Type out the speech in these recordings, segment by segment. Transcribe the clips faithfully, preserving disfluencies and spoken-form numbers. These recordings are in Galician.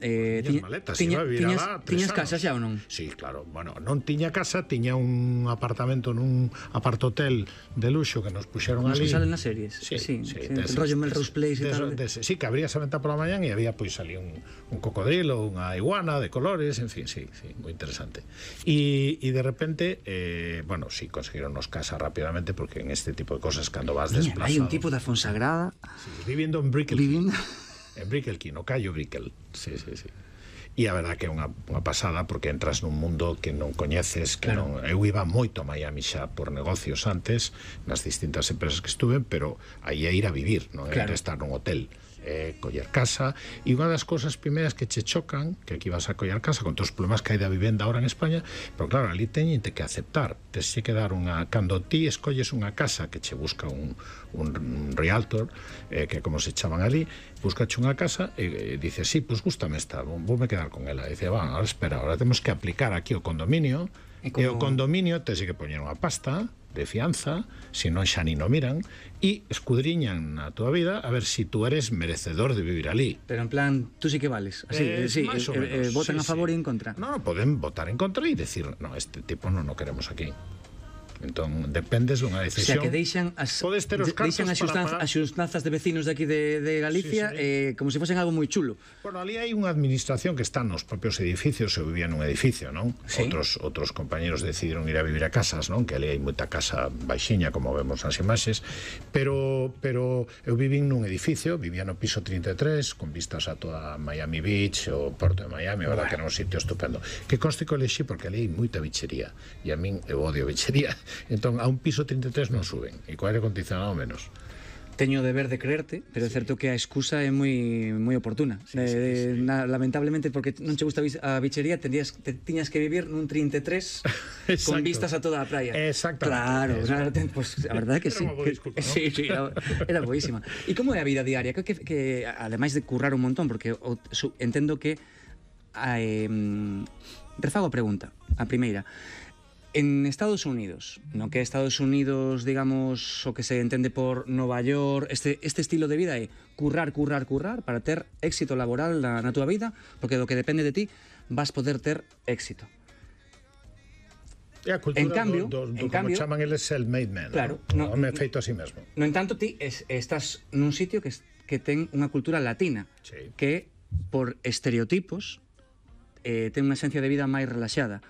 Eh, tiñas maletas, iba a vivir alá tres tiñas casa xa ou non? Sí, claro, bueno, non tiña casa, tiña un apartamento nun apartotel de luxo que nos puxeron ali. Nos que salen nas series. Sí, sí, sí, sí, des, el rollo Melrose Place e tal. Des, des, sí, que abrías a venta pola mañán e había pois ali un, un cocodrilo, unha iguana de colores, en fin, sí, sí, moi interesante. E de repente, eh, bueno, sí, conseguironnos casa rápidamente porque en este tipo de cosas cando vas Niña, desplazado... hai un tipo da Fonsagrada... Sí, vivindo en Brickell. Vivindo... En Brickell, no Callo Brickell. Sí, sí, sí. E a verdad que é unha, unha pasada porque entras nun mundo que non coñeces, que claro. non... Eu iba moito a Miami xa por negocios antes, nas distintas empresas que estuve, pero aí é ir a vivir, non é claro. estar nun hotel. Eh, coller casa, e unha das cosas primeiras que che chocan, que aquí vas a coller casa con todos os problemas que hai da vivenda ahora en España, pero claro, ali teñente que aceptar, tes que dar unha, cando ti escolles unha casa que che busca un, un, un realtor, eh, que como se chaman ali, buscache unha casa e, e dices, sí, pues gústame esta, voume quedar con ela, e dice, va, ahora espera, ahora temos que aplicar aquí o condominio, e, como... e o condominio tes que poñer unha pasta de fianza, se non xa ni no miran, e escudriñan na túa vida a ver si tú eres merecedor de vivir ali. Pero en plan, tú sí que vales. Así, eh, sí, eh, eh, votan sí, a favor sí. e en contra. No, poden votar en contra e decir, no, este tipo non o queremos aquí. Entón, dependes dunha decisión. O sea, que deixan as, podes ter os cartos deixan as xustanzas, as xustanzas de vecinos de aquí de, de Galicia sí, sí. Eh, como se fosen algo moi chulo. Bueno, ali hai unha administración que está nos propios edificios, se vivía nun edificio, non? Sí. Outros, outros compañeros decidiron ir a vivir a casas, non? Que ali hai moita casa baixiña, como vemos nas imaxes, pero, pero eu vivín nun edificio, vivía no piso trinta e tres, con vistas a toda Miami Beach, o Porto de Miami, a verdad bueno. que era un sitio estupendo. Que conste que o elexí porque ali hai moita bichería, e a min eu odio bichería. Entón, a un piso trinta e tres non suben, e co aire acondicionado menos. Teño o deber de creerte, pero é sí. certo que a excusa é moi moi oportuna. Sí, sí, eh, sí. Na, lamentablemente, porque non che gusta a bichería, tendrías, te, tiñas que vivir nun trinta e tres con vistas a toda a praia. Exactamente. Claro, claro ten, pues, a verdade é que sí. Que, disculpa, ¿no? Sí, sí, era, era boísima. E como é a vida diaria? Que, que, que ademais de currar un montón, porque o, su, entendo que eh, refago a pregunta, a primeira. En Estados Unidos, no que é Estados Unidos, digamos, o que se entende por Nova York, este, este estilo de vida é currar, currar, currar para ter éxito laboral na, na túa vida, porque do que depende de ti vas poder ter éxito. É a cultura en cambio, do, do, do en cambio, como chaman eles self-made man, claro, no, no, me feito a sí mesmo. No entanto, ti es, estás nun sitio que, que ten unha cultura latina, sí. que por estereotipos eh, ten unha esencia de vida máis relaxada.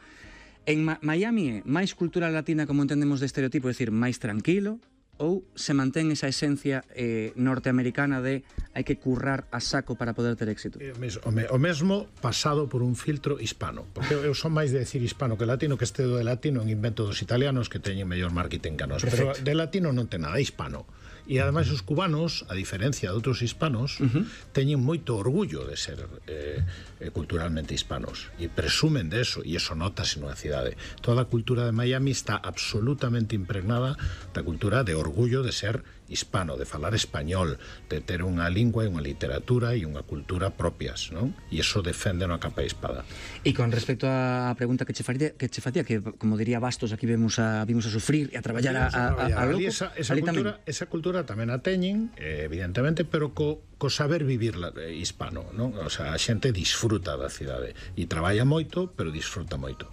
En Ma Miami é máis cultura latina como entendemos de estereotipo, é dicir, máis tranquilo, ou se mantén esa esencia eh, norteamericana de hai que currar a saco para poder ter éxito? O mesmo, o mesmo pasado por un filtro hispano, porque eu son máis de decir hispano que latino, que este do de latino en invento dos italianos que teñen mellor marketing que nos, pero de latino non ten nada, hispano. E ademais os cubanos, a diferencia de outros hispanos, uh-huh. teñen moito orgullo de ser eh, culturalmente hispanos e presumen de eso, e eso notase nunha cidade. Toda a cultura de Miami está absolutamente impregnada da cultura de orgullo de ser hispano, de falar español, de ter unha lingua e unha literatura e unha cultura propias, non? E iso defende a capa e espada. E con respecto á pregunta que che facía, que che facía, que como diría Bastos, aquí vemos a vimos a sufrir e a traballar a, a, a, a loco, esa, esa, cultura, esa cultura tamén a teñen, eh, evidentemente, pero co, co saber vivir la, eh, hispano, non? O sea, a xente disfruta da cidade e traballa moito, pero disfruta moito.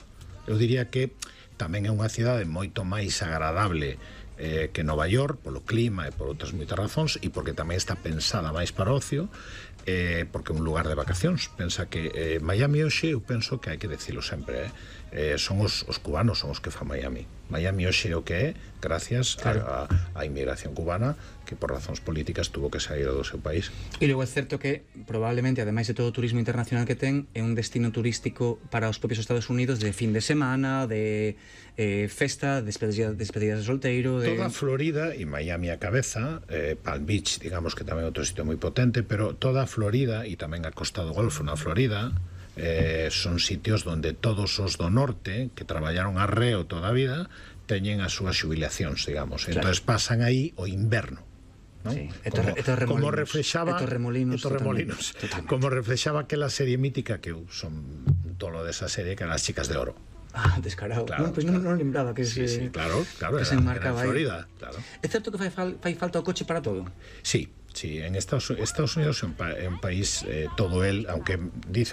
Eu diría que tamén é unha cidade moito máis agradable eh, que Nova York, polo clima e por outras moitas razóns, e porque tamén está pensada máis para ocio, eh, porque é un lugar de vacacións. Pensa que eh, Miami hoxe, eu penso que hai que decirlo sempre, eh, eh, son os, os cubanos son os que fan Miami. Miami hoxe é o que é gracias claro. a, a, a inmigración cubana, que por razóns políticas tuvo que sair do seu país. E logo é certo que probablemente, ademais de todo o turismo internacional que ten, é un destino turístico para os propios Estados Unidos de fin de semana, de eh, festa, despedidas despedida de solteiro, de... Toda Florida e Miami a cabeza, eh, Palm Beach, digamos que tamén é outro sitio moi potente, pero toda Florida e tamén a Costa do Golfo na Florida eh, son sitios onde todos os do norte que traballaron arreo toda a vida teñen as súas xubilacións, digamos. Claro. Entonces pasan aí o inverno. ¿no? Sí. Como, como reflexaba Torremolinos, Torremolinos, totalmente. Como reflexaba aquela serie mítica que eu son tolo desa serie que eran As chicas de oro. Ah, descarado. Claro, bueno, pues claro. non, non lembraba que sí, se, sí, claro, claro, que era, se enmarcaba era en Florida, aí. Claro. É certo que fai, fal, fai falta o coche para todo? Sí, sí, en Estados, Estados Unidos é un, pa, é un país eh, todo el, aunque dice